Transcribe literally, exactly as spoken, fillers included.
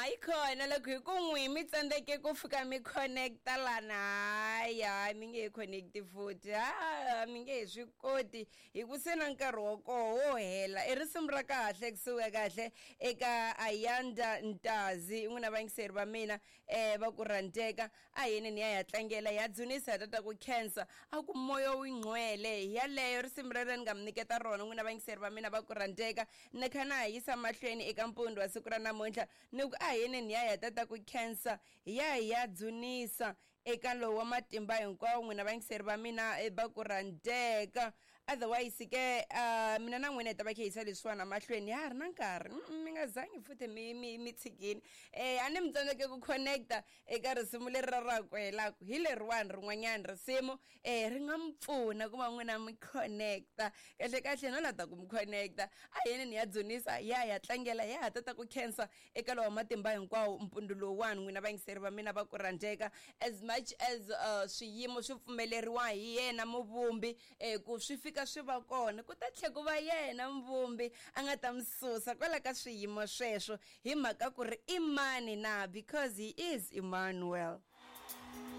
Hayi khona loko hi ku n'wi mi tsandzeke ku fika mi connecta lana, hayi hayi, mi nge he connecti futhi, ha mi nge he swi koti hi ku se na nkarhi wa koho wo hela. I risimu ra kahle kusuka kahle eka Ayanda Ntazi, n'wina vayingiseri va mina um va ku rhandzeka. A yini ni ya ya tlangela, ya dzunisa, ya tata ku khensa, a ku moya wu ngcwele. Hi yaleyo risimu rero ni nga mi nyiketa rona, n'wina vayingiseri va mina va ku rhandzeka. Ni kha na ha yisa mahlweni eka mpfundo wa siku ra namuntlha, ni ku a yini ni ya ya tata ku khensa, hi ya hi ya dzunisa eka lowu wa matimba hinkwawo, n'wina vayingiseri va mina eh, va ku rhandzeka. Otherwise ke uh, mina na n'wina hi ta va khe yisa leswiwani mahlweni, ya ha ri na nkarhi. Mm, mi nga zangi futhi mi mi mi tshikini. eh a ni mi tsandzeke ku connecta eka risimu leri ra ra ku helaku hi leriwani rin'wanyani risimu eh ri nga mi pfuna ku va n'wina mi connecta kahle kahle, no la ta ku mi connecta. A yini ni ya dzunisa, ya ya tlangela, ya ha tata ku khensa eka lowa matimba hinkwawo mpundzu lowuwani, n'wina vayingiseri va mina va ku rhandzeka. As much as uh, swiyimo swi pfumeleriwa hi yena muvumbi eh, ku swi fika swi va kona, ku ta tlhe ku va yena muvumbi a nga ta mi susa kwala ka swiyimo sweswo, hi mhaka ku ri i mani na, because he is Emmanuel.